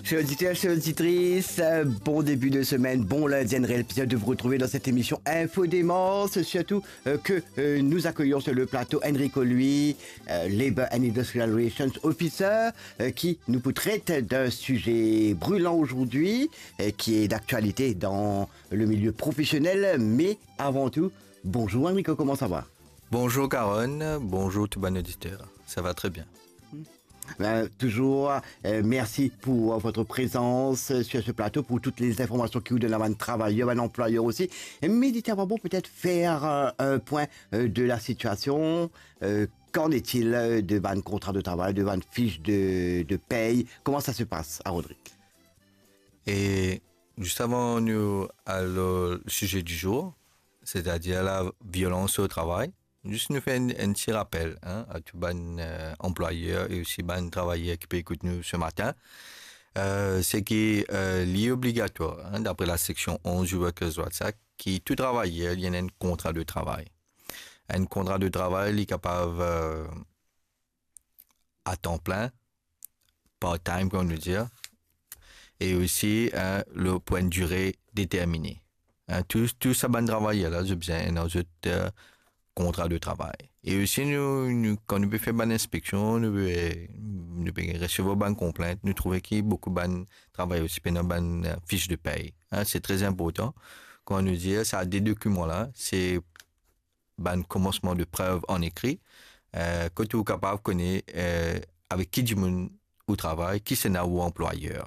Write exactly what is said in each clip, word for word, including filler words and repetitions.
Chers auditeurs, chères auditrices, euh, bon début de semaine, bon lundi, un réel plaisir de vous retrouver dans cette émission Info Démence, surtout euh, que euh, nous accueillons sur le plateau Enrico Louis, euh, Labour and Industrial Relations Officer, euh, qui nous traite d'un sujet brûlant aujourd'hui, euh, qui est d'actualité dans le milieu professionnel, mais avant tout, bonjour Enrico, comment ça va ? Bonjour Carole, bonjour tout bann oditer. Ça va très bien. Ben, toujours, euh, merci pour euh, votre présence euh, sur ce plateau, pour toutes les informations que vous donnez à bann travailleur, bann anplwayer osi. Me li ti ava bon, peut-être faire euh, un point euh, de la situation. Euh, qu'en est-il euh, de bann kontra de travay, de bann fich de, de pey ? Comment ça se passe à Rodrigue ? E zis avan nou al o size di zour, setadir la violans o travay, zis nou fer enn, enn ti rapel, hein, a tou bann euh, anplwayer e osi bann travayer ki pe ekout nou se matin. Euh, se ki euh, li obligatwar, hein, dapre la seksion onz du Workers' Rights Act, ki tou travayer li ena enn kontra de travay. Enn kontra de travay, li kapav euh, a tan plin, part-time, kouma nou dir, e osi hein, le, pou enn dire determine. Hein, tou, tou sa bann travayer la, zot bizin ena zot euh, kontra de travay. E osi, nou, nou, kan nou pe fer bann inspeksion, nou pe, nou pe resevwar bann konplint, nou trouve ki boukou bann travayer osi pena bann euh, fich de pey. Hein, se tre inportan. Kouma nou dir, sa de dokiman la, se bann komansman de prev an ekri, euh, kot ou kapav kone euh, avek ki dimoun ou travay, kisannla ou anplwayer.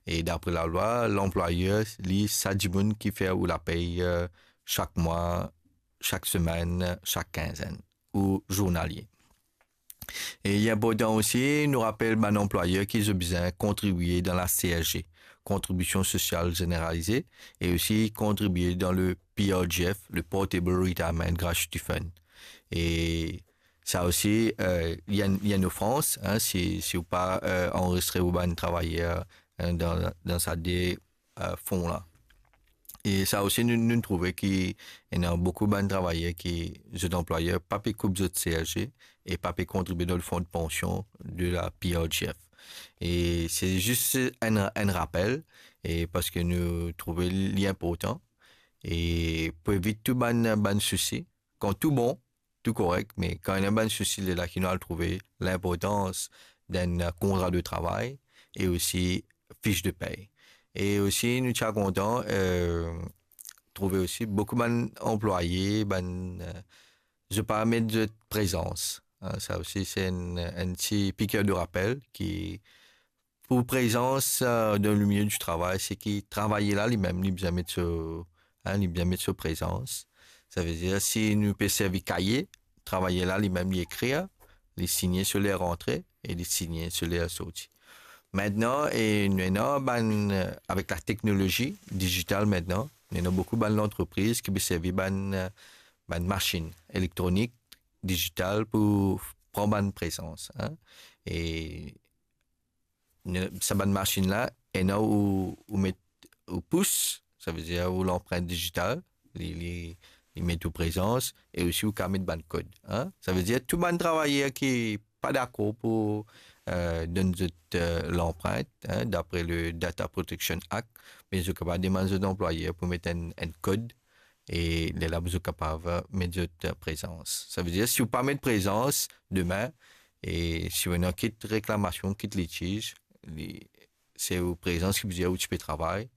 E dapre lalwa, lanplwayer, li sa dimoun ki fer ou lapey euh, sak mwa, sak semenn, sak kinzenn, ou zournalie. E li inportan osi, nou rapel bann anplwayer ki zot bizin kontribie dan la C S G, Contribution Sociale Généralisée, e osi kontribie dan le P R G F, le Portable Retirement Gratuity Fund. E sa osi, euh, li enn, li enn ofrans, hein, si, si ou pa euh, anrezistre ou bann travayer hein, dan, dan sa de euh, fon la. E sa osi, nou, nou trouve ki ena boukou bann travayer ki zot anplwayer pa pe koup zot C S G e pa pe kontribie dan le fon de pansion de la P R G F. E se zis enn, enn rapel, e parski nou trouve li inportan, e pou evit tou bann, bann sousi, kan tou bon, tou korek, me kan ena bann sousi, lerla ki nou al trouve linportans dan enn kontra de travay e osi fich de pey. E osi, nou ti a kontan euh, trouve osi boukou bann anplwaye, bann, euh, zot pa met zot prezans. Hein, sa osi, se enn, enn ti piker de rapel ki pou prezans euh, dan le milieu du travay, se ki travayer la, limem, li bizin met so, hein, li bizin met so prezans. Savedir, si nou pe servi kaye, travayer la, limem, li ekrir, li signe so ler rantre e li signe so ler sorti. Aster, e nou ena bann, euh, avek la teknolozi dizital aster, nou ena boukou bann lantrepriz ki pe servi bann, euh, bann masinn elektronik, dizital pou pran bann prezans, hein. E ne, sa bann masinn la, ena ou, ou met ou pous, savedir ou lanprint dizital, li, li, li met ou prezans, e osi ou kapav met bann kod, hein. Savedir tou bann travayer ki pa dakor pou euh, donn zot euh, lanprint, hein, dapre le Data Protection Act, me zot kapav demann zot anplwayer pou met enn, enn kod, e lerla zot kapav euh, met zot euh, prezans. Savedir, si ou pa met prezans, demin, e si ou ena kit reklamasion, kit litiz, li, se ou prezans ki pou dir ou ti pe travay,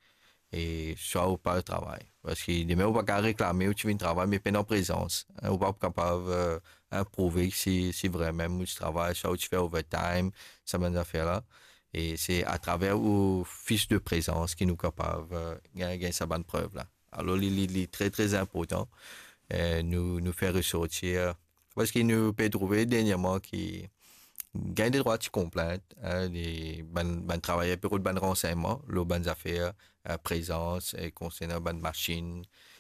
e swa ou pa travay. Parski demin ou pa kapav reklame ou ti vinn travay, me pena prezans, hein, ou pa kapav euh, hein, prouve si, si vremem ou ti travay, swa ou ti fer overtime, sa bann zafer la. E se atraver ou fich de prezans ki nou kapav euh, gagn, gagn sa bann prev la. Alor, li, li, li tre, tre inportan euh, nou, nou fer resortir, parski nou pe trouve dernierman ki gagn de trwa ti konplint, hein, li, bann, bann travayer pe rod bann ransegnman lor bann zafer euh, prezans, e konsernan bann masinn,